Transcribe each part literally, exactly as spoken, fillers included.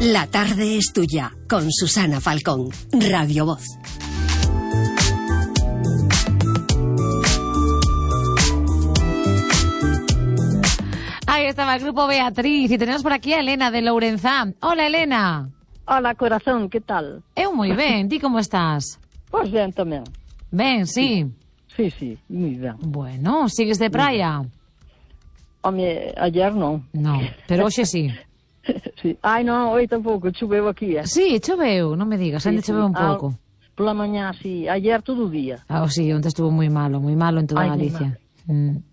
La tarde es tuya, con Susana Falcón, Radio Voz. Ahí estaba el grupo Beatriz y tenemos por aquí a Elena de Lourenzá. Hola, Elena. Hola, corazón, que tal? Eu moi ben, ti como estás? Pois ben tamén. Ben, sí. Sí, sí, moi ben. Bueno, sigues de praia? Home, ayer non. No, pero hoxe sí. Sí. Ai, non, hoy tampouco, choveu aquí, eh? Sí, choveu, non me digas, ainda sí, choveu un sí. pouco. Ah, pola mañá, sí, ayer todo o día. Ah, sí, onde estuvo moi malo, moi malo en toda Ai, Galicia. Mm.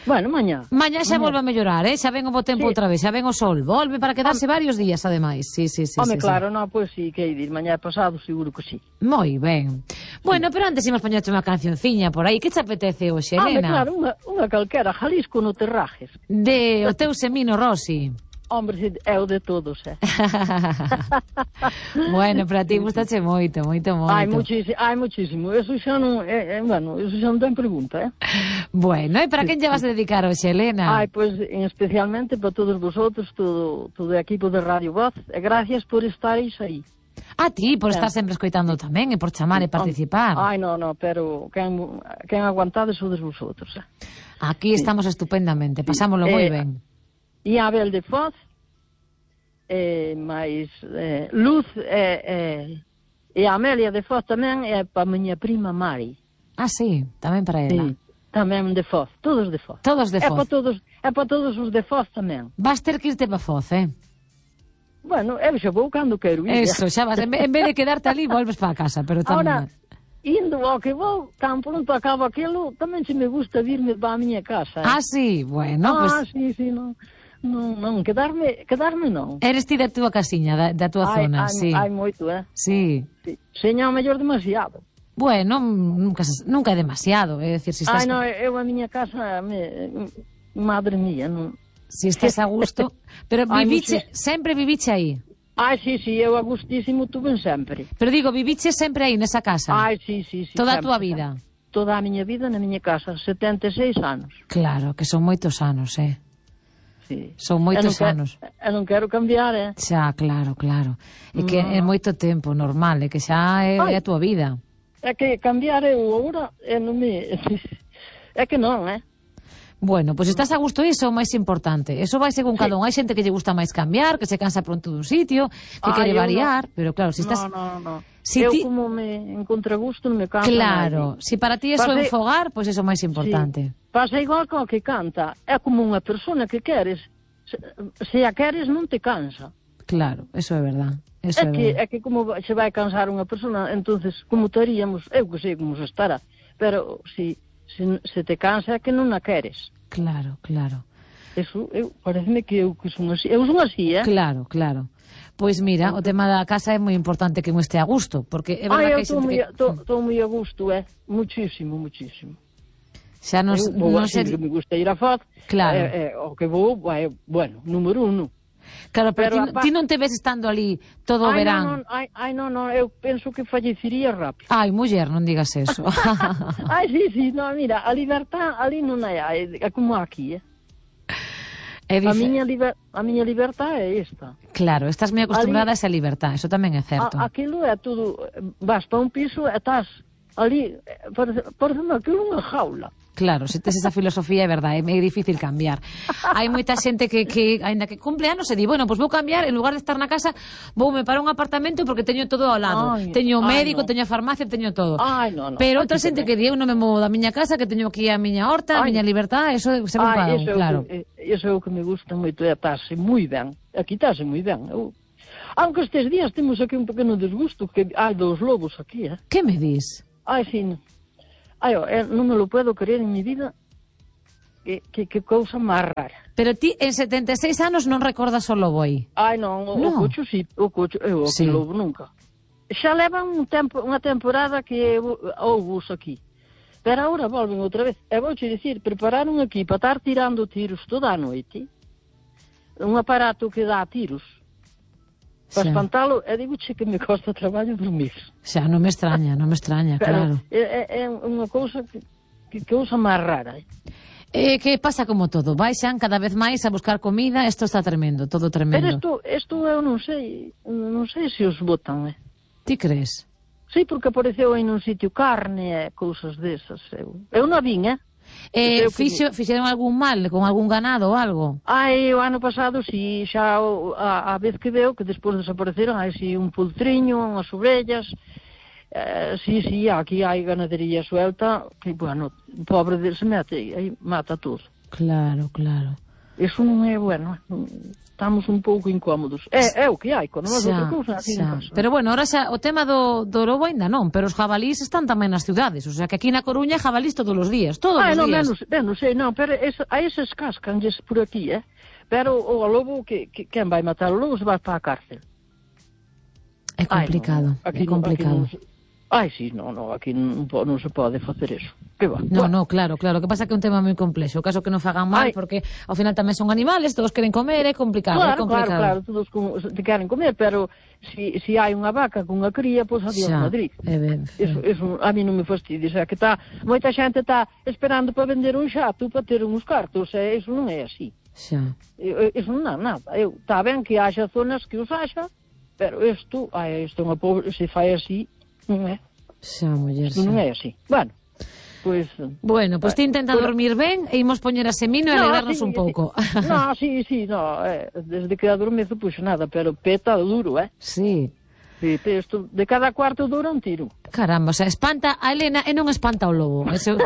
Bueno, mañá. Mañá xa mañá. volve a mellorar, eh? Xa ven o bo tempo Sí. outra vez, xa ven o sol. Volve para quedarse varios días, ademais. Sí, sí, sí. Home, sí, claro, sí. non, pois sí, que hai dir, mañá pasado seguro que sí. Moi ben. Bueno, pero antes imos poñerte unha cancionciña por aí. Que te apetece hoxe, Home, Elena? claro, unha, unha calquera, Jalisco no Terrajes. De o teu Semino Rossi. Hombre, sí, é o de todos, eh? Bueno, para ti gustache moito, moito, moito. Ai, muchísimo, ai, muchísimo. Eso xa non, é, é, bueno, eso xa non ten pregunta, eh? Bueno, e para quen lle vas a dedicar hoxe, Elena? Ai, pois, pues, especialmente para todos vosotros, todo, todo o equipo de Radio Voz, e gracias por estareis aí. A ti, por estar sempre escoitando tamén, e por chamar e participar. Ai, non, non, pero quen, quen aguantades sodes vosotros, eh? Aquí estamos sí. estupendamente, pasámoslo moi eh, ben. E a Abel de Foz, eh, máis eh, Luz e, eh, e a Amelia de Foz tamén, é para a miña prima Mari. Ah, sí, tamén para ela. Sí, tamén de Foz, todos de Foz. Todos de É Foz. para todos, é para todos os de Foz tamén. Vas ter que irte para Foz, eh? Bueno, eu xa vou cando quero ir. Eso, xa vas, en vez de quedarte ali, volves para casa, pero tamén... Ahora, indo ao que vou, tan pronto acabo aquilo, tamén se me gusta virme para a miña casa. Eh? Ah, sí, bueno, ah, pues... Ah, sí, sí, non, non, non, quedarme, quedarme non. Eres ti da túa casiña, da, da túa ai, zona, ai, sí. Hai moito, eh? Sí. sí. Seña o mellor demasiado. Bueno, nunca, nunca é demasiado, é dicir, si estás... Ai, non, eu a miña casa, me, madre mía, non... Si estás a gusto, pero viviche, ai, sempre viviche aí. Ai, sí, sí, eu a gustísimo tuve sempre. Pero digo, viviche sempre aí nesa casa? Ai, sí, sí, sí. Toda sempre, a túa vida? Toda a miña vida na miña casa, setenta e seis anos. Claro, que son moitos anos, eh? Sí. Son moitos eu anos. Eu non quero cambiar, eh? Xa, claro, claro. É que no. é moito tempo, normal, é que xa é, é a túa vida. É que cambiar eu agora, é non me... É que non, eh? Bueno, pois pues estás a gusto, iso é o máis importante. Eso vai según sí. cada un. Hai xente que lle gusta máis cambiar, que se cansa pronto dun sitio, que ah, quere variar, no. pero claro, si estás... No, no, no. Si eu ti... como me encontre gusto non me cansa. Claro, máis. Si para ti eso é un fogar, pois pues eso é o máis importante. Sí. Pasa igual co que canta. É como unha persona que queres. Se, se a queres non te cansa. Claro, eso é verdad. Eso é, é, que, verdad. é que como se vai cansar unha persona, entonces como estaríamos, eu que sei como se estará, pero si, se, se te cansa é que non a queres. Claro, claro. Eso, eu, pareceme que eu que son así. Eu son así, eh? Claro, claro. Pois mira, o tema da casa é moi importante que non este a gusto, porque é verdad Ai, que hai xente que... Estou moi a gusto, eh? Muchísimo, muchísimo. Xa nos... Eu vou non así, ser... que me gusta ir a Foz. Claro. Eh, eh, o que vou, é, bueno, número uno. Claro, pero, pero ti, apa... ti non te ves estando ali todo o ai, verán. Non, non, ai, ai, non, non, eu penso que fallecería rápido. Ai, muller, non digas eso. Ai, sí, sí, no, mira, a libertad ali non hai, é como aquí, eh? É a, miña liber... a miña libertad é esta. Claro, estás moi acostumbrada ali... a esa libertad, eso tamén é certo. A, aquilo é todo, vas para un piso e estás ali, parece, parece aquilo unha jaula. Claro, se tes esa filosofía é verdade, é difícil cambiar. Hai moita xente que, que ainda que cumple anos e di, bueno, pois pues vou cambiar, en lugar de estar na casa, voume para un apartamento porque teño todo ao lado. Ay, teño o médico, ay, no. teño a farmacia, teño todo. Ay, no, no. Pero outra xente que di, eu non me movo da miña casa, que teño aquí a miña horta, a miña libertad, eso se me cada un, claro. Iso é o que me gusta moito, é estarse moi ben. Aquí estarse moi ben. Eu... Aunque estes días temos aquí un pequeno desgusto, que hai dos lobos aquí, eh? Que me dis? Ai, sí, no. Ai, eh, non me lo puedo creer en mi vida. Que, que, que cousa máis rara. Pero ti en setenta e seis anos non recordas o lobo aí? Ai, non, o, no. o cocho sí, o cocho, eu o sí. lobo nunca. Xa levan un tempo, unha temporada que houve aquí. Pero agora volven outra vez. E vou te dicir, prepararon aquí para estar tirando tiros toda a noite. Un aparato que dá tiros. Para espantalo, e digo-che que me costa traballo dormir. Xa, non me extraña, non me extraña, claro. É, é unha cousa que, que cousa máis rara, eh? Eh, que pasa como todo, baixan cada vez máis a buscar comida, isto está tremendo, todo tremendo. Pero isto, isto eu non sei, non sei se os botan, eh. Ti crees? Sí, porque apareceu aí nun sitio carne e cousas desas, eu. Eu non vin, eh. Eh, fixo, fixeron algún mal con algún ganado ou algo? Ai, o ano pasado, si, xa a, a vez que veo, que despois desapareceron, hai si un poltriño, unhas ovellas... Uh, sí, sí, aquí hai ganadería suelta que, bueno, pobre de se mete aí mata todo. Claro, claro. Eso non é bueno, estamos un pouco incómodos. É, é o que hai, con outra cousa aquí non pasa. Pero bueno, ahora xa, o tema do, do lobo ainda non, pero os jabalís están tamén nas ciudades, o sea que aquí na Coruña jabalís todos os días, todos ah, os no, días. Menos, menos, sei, non, pero es, a eses cascanlles por aquí, eh? Pero o, o lobo, que, que, quen vai matar o lobo se vai para a cárcel. É complicado, Ai, no, aquí, é complicado. Aquí non, Ai, sí, non, non, aquí non, non se pode facer eso. Que va? No, bueno. no, claro, claro, que pasa que é un tema moi complexo. O caso que non fagan mal, Ai. porque ao final tamén son animales, todos queren comer, é complicado, Claro, é complicado. claro, claro, todos com, te queren comer, pero si, si hai unha vaca con unha cría, pois adiós Xa, Madrid. é ben, Eso, eso a mí non me fastidia, o sea, que tá, moita xente está esperando para vender un xato para ter uns cartos, e eso non é así. Xa. Eu, eso non é nada. Eu, está ben que haxa zonas que os haxa, pero isto, ai, isto é unha pobre, se fai así, non é. Xa, muller, xa. Non é así. Bueno, pois... Bueno, pois ti intenta pero... dormir ben e imos poñer a semino e alegrarnos sí, un pouco. Sí. No, sí, sí, no, eh, desde que adormezo, pois nada, pero peta duro, eh? Sí. Sí, isto, de cada cuarto dura un tiro. Caramba, o sea, espanta a Elena e non espanta o lobo. Eso...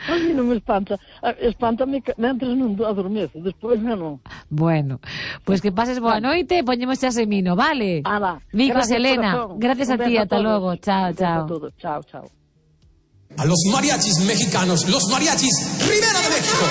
A mí non me espanta. Espántame mentres non adormezo, despois non. Bueno, pois pues que pases boa noite e poñemos xa semino, vale? Ah, va. Bicos, Gracias, Elena. corazón. Gracias a ti, ata logo. Chao, chao. Chao, chao. A los mariachis mexicanos, los mariachis Rivera de México.